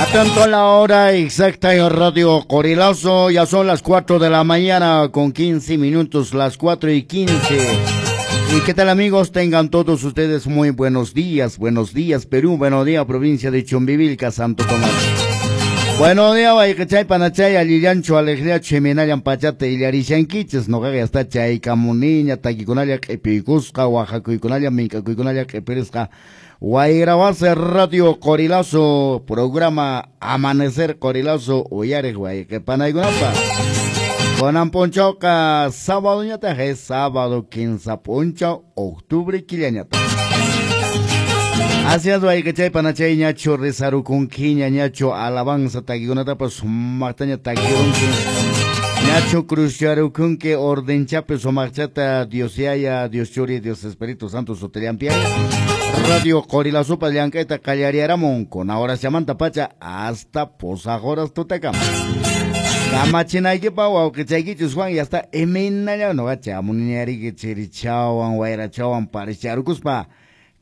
Atento a la hora exacta en Radio Qorilazo, ya son las 4 de la mañana con 15 minutos, las 4:15. ¿Y qué tal, amigos? Tengan todos ustedes muy buenos días, Perú, buenos días, provincia de Chumbivilca, Santo Tomás. Buenos días, wayqichay, panachay, allillanchu, alegría, chiminallan pachata, illarishankichis, noqaqa ya está chaykamuniña, takikunalla q'ipiykusqa, waqakuykunalla, mink'akuykunalla q'ipirisqa. Wayrawase Radio Qorilazo, programa Amanecer Qorilazo, uyariq wayqipanaykunapaq. Kunan p'unchawqa sábado ñataq, es sábado 15 p'unchaw, octubre killañataq. Así es, wayqichay, panachay, ñachu rizarukunkiña, ñachu alabanza takikunatapas sumaqtaña takirunki. Ñachu cruzcharukunki ordenchapi sumaqchata Dios Yaya, Dios Churi, Dios Espíritu Santo sutillampi. Radio Qorilazopa llank'ayta qallariyaramun con ahora llamanta pacha hasta pusaq horas tutakama. Kamachinaykipaq wawqichaykichus Juan ya está imaynalla noqa chamuniñariki chirichawan wayrachawan paricharukuspa.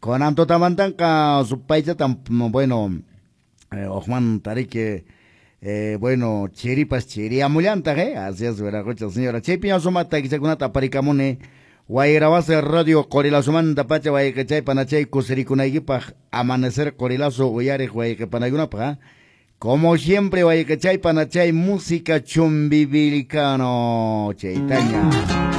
Kunan tutamantanqa supaychatan, bueno, hukman tariki, bueno, chiripas chiriamullantaq, así es, wiraqocha señora. Chaypiña sumaq takichakunata aparikamuni Wayrawase Radio Qorilazomanta pacha wayqichay panachay kusirikunaykipaq Amanecer Qorilazo uyariq wayqipanaykunapaq. Como siempre, wayqichay panachay, música chumbivilcano chaytaña.